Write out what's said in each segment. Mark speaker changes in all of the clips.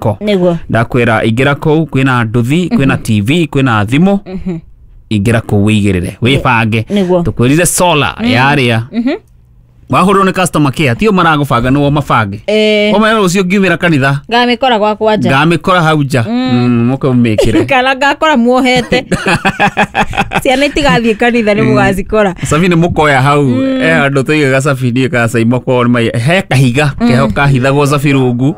Speaker 1: Ko
Speaker 2: Nĩguo.
Speaker 1: Ndakwĩra ingĩra kũu kwĩna nduthi, kwĩna TV, kwĩna thimũ. Ingĩra kũu wĩigĩrĩre, wĩbange.
Speaker 2: Nĩguo.
Speaker 1: Tũkwĩrire solar yarĩa wahũrwo nĩ customer care, tio maragũbanga, nĩo mabange. Ũmenya rũciũ ngiumĩra kanitha
Speaker 2: Ngamĩkora gwakwa nja.
Speaker 1: Ngamĩkora hau nja. Mũke mũmĩkĩre.
Speaker 2: Kana ngakora muohete ciana itigathiĩ kanitha nĩ mũgacikora.
Speaker 1: Cabi nĩ mũkoya hau e handũ tũigaga cabi niĩ kacaimo ko he kahiga keho kahithagwo cabi rungu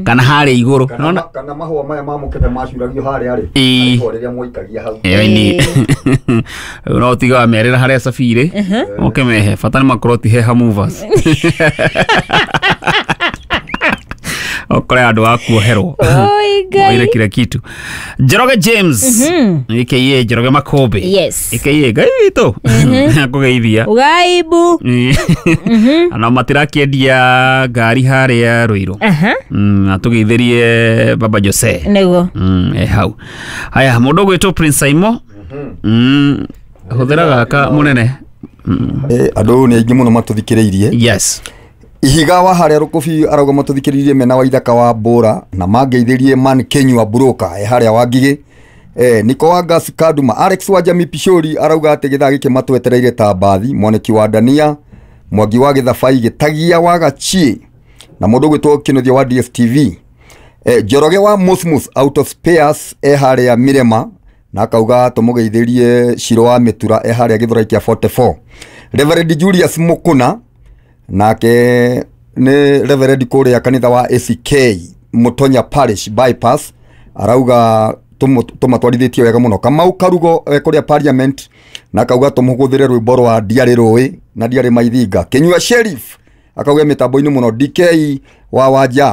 Speaker 1: kana harĩa igũrũ.
Speaker 3: Kana,
Speaker 1: Nona
Speaker 3: kana mahũa maya ma mũkebe macuragio harĩa rĩ.
Speaker 1: Ĩĩ.
Speaker 3: Ihũa rĩrĩa mwaikagia hau.
Speaker 1: Ĩni no tiga wamerĩra harĩa cabi irĩ oke mehe bata nĩ makorwo ti heha movers okore andũ a kuoherwo.
Speaker 2: Oi Ngai.
Speaker 1: Oire kila kitu. Njoroge James aka Njoroge Makũmbĩ aka Ngai witũ akũgeithia.
Speaker 2: Ugaibu.
Speaker 1: Na matirakĩendia ngari harĩa Rũirũ. Atũgeithĩrie Baba Jose.
Speaker 2: Nĩguo.
Speaker 1: E hau haya mũndũ ũgwĩtwo Prince Saimo. Hũthĩra gaka mũnene.
Speaker 3: Andũ nĩ aingĩ mũno matũthikĩrĩirie. Ihiga wa harĩa rũkũbi arauga matũthikĩrĩirie mena wa ithaka wa mbũra na mangeithĩrie man Kenyua Broker e harĩa wa ngigĩ. Niko wa Gas Kaduma Alex wa Jami Pishori arauga atĩ gĩthaa gĩkĩ matwetereire ta mbathi mwaniki wa Dania Mwangi wa Gĩthabai Gĩtagia wa Gachie na mũndũ ũgwĩtwo Kĩnuthia wa DSTV. Njoroge wa Mosmos out of spares e harĩa Mirema na akauga tũmũgeithĩrie Ciro wa Mĩtura e harĩa Gĩthũrai kĩa 44. Reverend Julius Mukuna nake nĩ reverend kũrĩa kanitha wa ACK Mutonya Parish Bypass arauga tũmatwarithĩtie wega mũno. Kamau Karugo e kũrĩa Parliament na akauga tũmũgũthĩre rwĩmbo rwa ndiarĩ rũĩ na ndiarĩ maithinga. Kinyua Sheriff akauga mĩtambo-inĩ mũno. DK wa wanja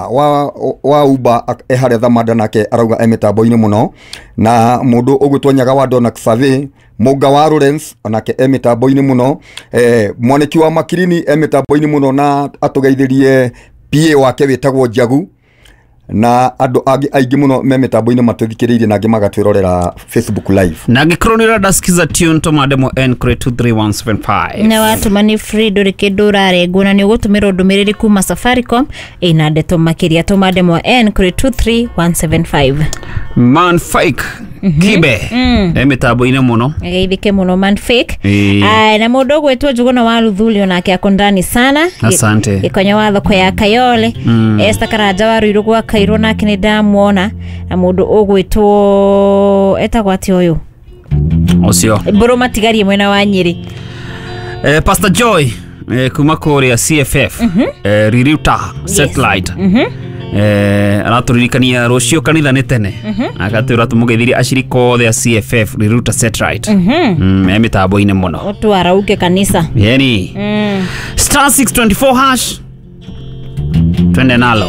Speaker 3: wa Uber e harĩa Thamanda nake arauga e mĩtambo-inĩ mũno na mũndũ ũgwĩtwo Nyaga wa Dona Xavier Mũnga wa Lawrence onake e mĩtambo-inĩ mũno. Mwaniki wa Makirini e mĩtambo-inĩ mũno na atũgeithĩrie PA wake wĩtagwo Njagu na andũ angĩ aingĩ mũno me mĩtambo-inĩ matũthikĩrĩirie na angĩ magatwĩrorera Facebook Live.
Speaker 1: Na angĩkorwo nĩ ũrenda skiza tune tũma ndemwa N kũrĩ 23175.
Speaker 2: Na watũma nĩ free, ndũrĩ kĩndũ ũrarengwo na nĩ ũgũtũmĩrwo ndũmĩrĩri kuma Safaricom ĩna ndeto makĩria. Tũma ndemwa N kũrĩ 23175.
Speaker 1: Man Fake Kibe e mĩtambo-inĩ mũno.
Speaker 2: Geithĩke mũno man fake.
Speaker 1: Ĩĩ.
Speaker 2: Aya, na mũndũ ũgwĩtwo Njũgũna wa Ruthuri onake ako ndani sana.
Speaker 1: Asante.
Speaker 2: Gĩkonyo wa thoko ya Kayole. Esther Karanja wa Ruiru gwa Kairwo nake nĩ ndamuona na mũndũ ũgwĩtwo etagwo atĩa ũyũ?
Speaker 1: Ũcio.
Speaker 2: Mbũrũ matigarie mwena wa Nyĩrĩ.
Speaker 1: Pastor Joy kuma kũrĩa CFF Riruta Satellite aratũririkania rũciũ kanitha nĩ tene agatwĩra tũmũgeithirie acirika othe a CFF Riruta Satellite e mĩtambo-inĩ mũno.
Speaker 2: Ũtwarauke kanitha.
Speaker 1: Yani *624# twende nalo.